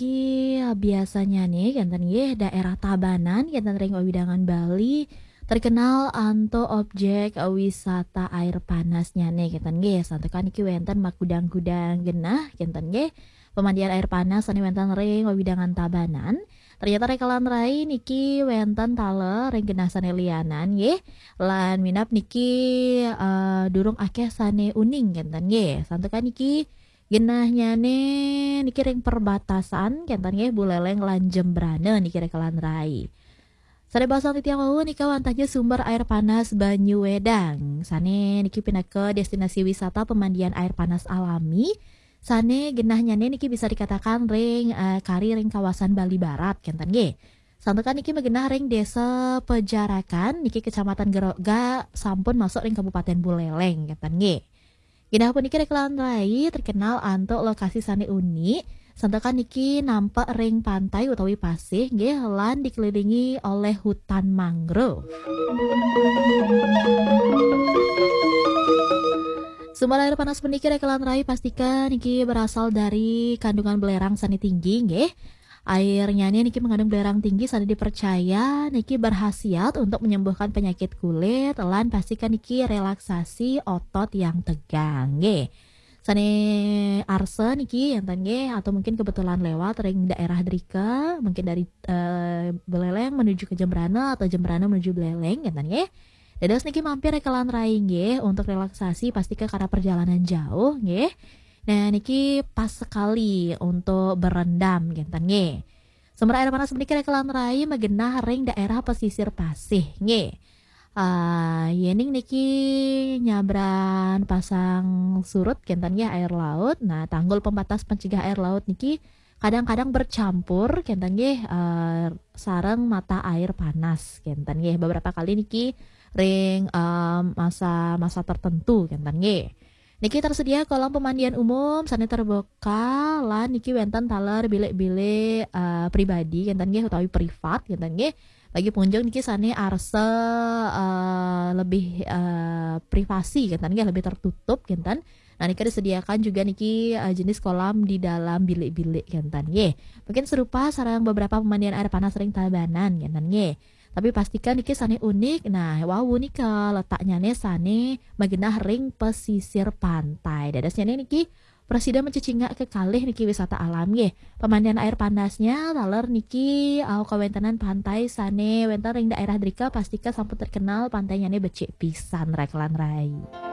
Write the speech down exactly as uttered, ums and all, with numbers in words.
niki biasanya nih, kenten nggih, daerah Tabanan, kenten ring wewidangan Bali, terkenal antuk objek wisata air panasnya nih, kenten nggih. Santukan niki wenten magudang-gudang genah, kenten nggih. Pemandian air panas sane wenten ring wewidangan Tabanan. Ternyata ring Kalan Rai niki wenten taler ring genah sane lianan nggih. Lan minab niki, eh, durung akeh sane uning kenten nggih. Santukan niki genahnyane niki ring perbatasan kenten nggih Buleleng lan Jembrana niki ring Kalan Rai. Sane baosang titiang wau nika wantahnya sumber air panas Banyu Wedang. Sane niki pinaka destinasi wisata pemandian air panas alami. Sane genahnyane niki bisa dikatakan ring, eh, kari ring kawasan Bali Barat kenten nggih. Santukan niki magenah ring Desa Pejarakan niki Kecamatan Geroga sampun masuk ring Kabupaten Buleleng kenten nggih. Genah puniki ring Kalan Rai terkenal antuk lokasi sane unik. Santukan niki nampak ring pantai utawi pasih nggih lan dikelilingi oleh hutan mangrove. Sumber air panas puniki ring Kalan Rai pastika niki berasal dari kandungan belerang sane tinggi nggih. Airnya niki mengandung belerang tinggi sane dipercaya niki berkhasiat untuk menyembuhkan penyakit kulit lan pastika niki relaksasi otot yang tegang nggih. Sane arsa niki enten nggih atau mungkin kebetulan lewat ring daerah drika, mungkin dari, eh, Buleleng menuju ke Jembrana atau Jembrana menuju Buleleng enten nggih. Dados niki mampir ring Kalan Rai nggih untuk relaksasi pastika karena perjalanan jauh nggih. Nah, niki pas sekali untuk berendam kenten nggih. Sumber air panas puniki ring Kalan Rai magenah ring daerah pesisir pasih nggih. Ah, yening niki nyabran pasang surut kenten nggih air laut. Nah, tanggul pembatas pencegah air laut niki kadang-kadang bercampur kenten nggih, eh, sareng mata air panas kenten nggih. Beberapa kali niki ring, eh, masa-masa tertentu kenten nggih. Niki tersedia kolam pemandian umum sane terbuka lan niki wenten taler bilik-bilik, eh, pribadi kenten nggih utawi privat kenten nggih. Bagi pengunjung niki sane arsa, eh, lebih, eh, privasi kenten nggih, lebih tertutup kenten. Nah, niki disediakan juga niki, eh, jenis kolam di dalam bilik-bilik kenten nggih. Mungkin serupa sareng beberapa pemandian air panas ring Tabanan kenten nggih. Tapi pastikan niki sane unik. Nah, wau nika letaknyane sane magenah ring pesisir pantai. Dadosnyane niki prasida mencecingak kekalih niki wisata alam nggih. Pemandian air panasnya taler niki, eh, kawentenan pantai sane wenten ring daerah drika pastika sampun terkenal pantainyane becik pisan ring Kalan Rai.